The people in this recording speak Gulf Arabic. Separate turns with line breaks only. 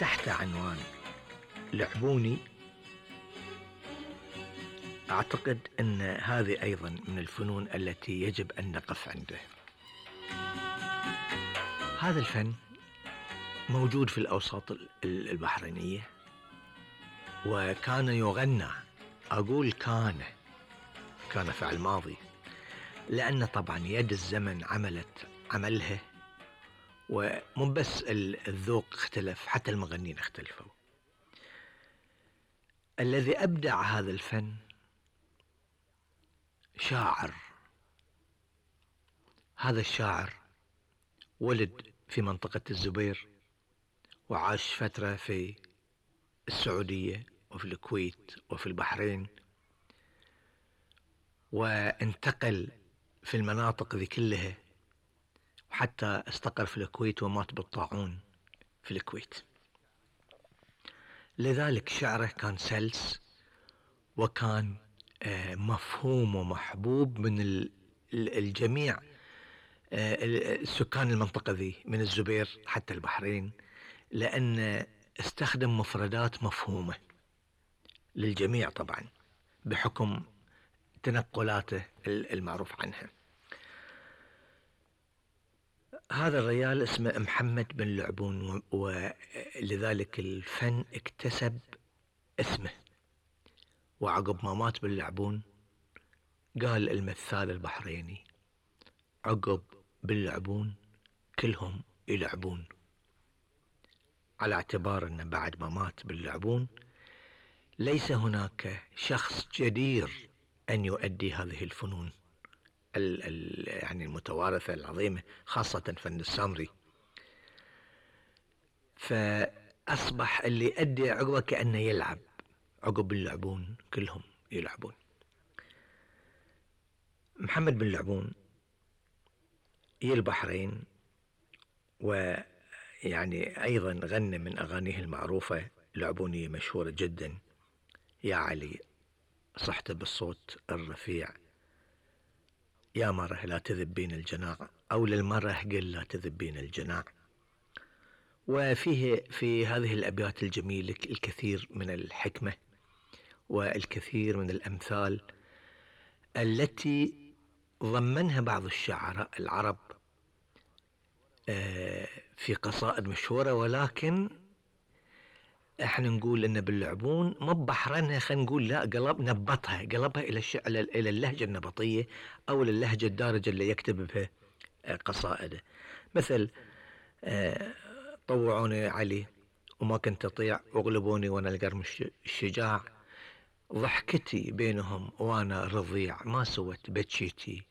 تحت عنوان لعبوني. أعتقد أن هذه أيضا من الفنون التي يجب أن نقف عنده. هذا الفن موجود في الأوساط البحرينية، وكان يغنى. أقول كان فعل ماضي، لأن طبعا يد الزمن عملها، ومو بس الذوق اختلف، حتى المغنين اختلفوا. الذي أبدع هذا الفن شاعر. هذا الشاعر ولد في منطقة الزبير، وعاش فترة في السعودية وفي الكويت وفي البحرين، وانتقل في المناطق ذي كلها، وحتى استقر في الكويت ومات بالطاعون في الكويت. لذلك شعره كان سلس، وكان مفهوم ومحبوب من الجميع، سكان المنطقة ذي من الزبير حتى البحرين، لأن استخدم مفردات مفهومة للجميع طبعا بحكم تنقلاته المعروف عنها. هذا الرجال اسمه محمد بن لعبون، ولذلك الفن اكتسب اسمه. وعقب ما مات بن لعبون قال المثال البحريني: عقب بن لعبون كلهم يلعبون، على اعتبار أن بعد ما مات بن لعبون ليس هناك شخص جدير أن يؤدي هذه الفنون يعني المتوارثة العظيمة، خاصة فن السامري. فأصبح اللي يؤدي عقبه كأنه يلعب. عقب بن لعبون كلهم يلعبون. محمد بن لعبون يا البحرين، ويعني أيضا غنى من أغانيه المعروفة لعبونية مشهورة جدا: يا علي صحت بالصوت الرفيع، يا مره لا تذبين الجناع، أو للمره قل لا تذبين الجناع. وفيه في هذه الأبيات الجميلة الكثير من الحكمة والكثير من الأمثال التي ضمنها بعض الشعراء العرب في قصائد مشهورة. ولكن احنا نقول ان باللعبون مو بحرنها، خلينا نقول لا، قلبها الى اللهجة النبطية او اللهجة الدارجة اللي يكتب بها قصائده. مثل طوعوني علي وما كنت اطيع، اغلبوني وانا القرم الشجاع، ضحكتي بينهم وانا رضيع، ما سوت بتشيتي